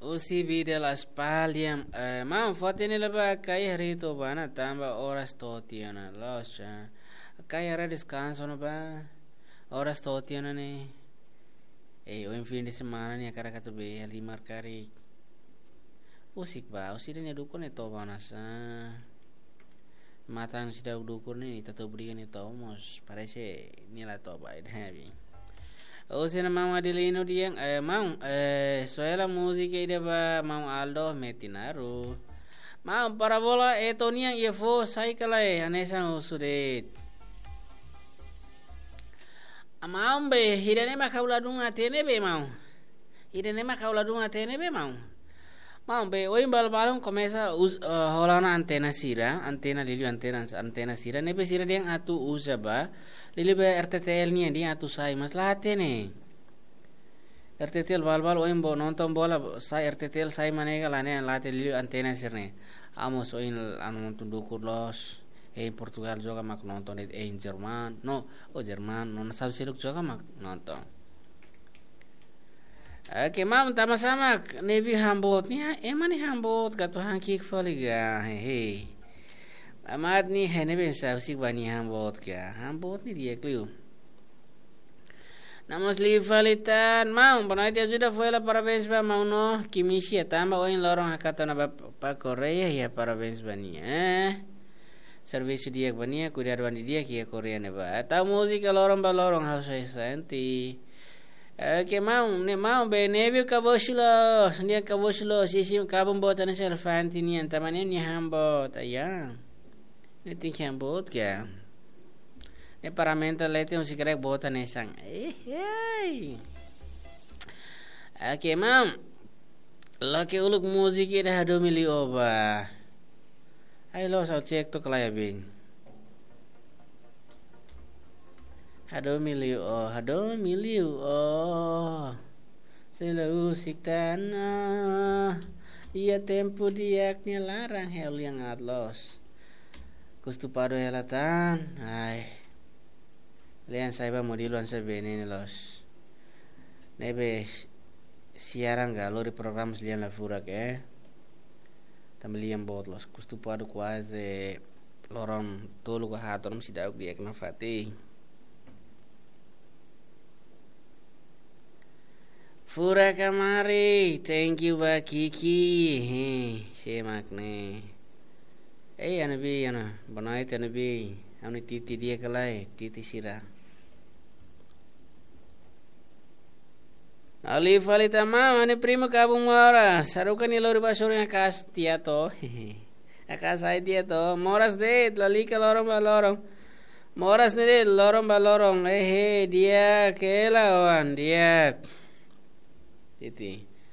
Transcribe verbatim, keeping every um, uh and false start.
Husi Bidel Aspal diam, eh, maun, foti ne'e la ba, karik haree to'o ba ona tanba oras to'o tiha ona, loos, eh. Karik hare deskansa ona ba, oras to'o tiha ona ne'e. Eh, ohin fin de semana ne'e hakarak atu bee halimar karik. Husik ba, husi ida-ne'e dukur ne'e to'o ba ona sá. Matan seidauk dukur ne'e, ita atu obriga nia to'o mós, parese nia la to'o ba ida heavy. Husi ona maun Adelino dehan, eh, maun, eh, soe hela múzika ida ba maun Aldo Metinaru. Maun, parabola Eto nian iha foho sai ka lae, hanesan husu de'it. Ah, maun be, ida-ne'e mak ha'u ladún hatene be, maun. Ida-ne'e mak ha'u ladún hatene be, maun. Maun be, ohin balun-balun komesa us-, eh, hola ona antena sira, antena, liuliu antena, antena sira ne'ebé sira dehan atu uza ba, liuliu be R T T L nian dehan atu sai, mas la hatene. R T T L balun-balun ohin bá nonton bola, sai R T T L sai mak ne'e ka lae, ne'e la hatene, liuliu antena sira-ne'e. Ha'u mós ohin ha'u nonton dukur loos, eh, Portugal joga mak nonton, eh, Jerman, no, oh, Jerman, no, nasaun seluk joga mak nonton. Oke, maun, tanba sá mak Nevi han boot ne'e, ema ne'e han boot ka atu han ki'ik fali ka, hehe. Amat ne'e, he ne'ebé sá husik ba nia han boot ka, han boot ne'e di'ak liu. Namos liu fali tan, maun, boa noite, ajuda fó hela parabéns ba maun no, Kimisia tanba ohin loron hakat ona ba, ba Koreia, iha parabéns ba nia, eh. Servisu di'ak ba nia, kuidadu an di'ak iha Koreia ne'ebá. Tau múzika loron ba loron ha'u sai sente. Oke, maun, ne'e maun be Nevi kabosi loos, nia kabosi loos, sisi kabun boot hanesan elefante nian, tanba ne'e nia han boot, ya. Ne'e tenke han boot ka. Ne'e paramenta leten husik karik boot hanesan. Eh, hei. Oke, maun. Loke uluk múzika ida hadomi liu ó ba. Ai loos, ha'u cek to'ok ka lae, bin. Hadomi liu ó, hadomi liu ó. Selalu husik tan ó. Iha tempu di'ak nia laran ha'u lian aat loos. Kustu padu hela tan. Ai. Lian sai ba modelu hanesan be ne'e ne'e loos. Ne'ebé siaran ka lori programa sira-ne'e la furak, eh. Tanba lian boot loos, kustu padu kuaze loron tolu ka haat, loron seidauk di'ak nafatin. Furak ka mari, thank you ba Kiki. He, sé mak ne'e. Ei, Anabi, Ana, boa noite, Anabi. Ha'u-nia titi di'ak ka lae, titi sira. Ha'u liu fali tan maun, ha'u-nia primu kabun moras. Haruka nia lori ba sorin, hakaas tiha to'o. Hakaas ai tiha to'o. Moras de'it, lalika loron ba loron. Moras ne'e de'it, loron ba loron. Ehe, di'ak hela oan, di'ak. Titi.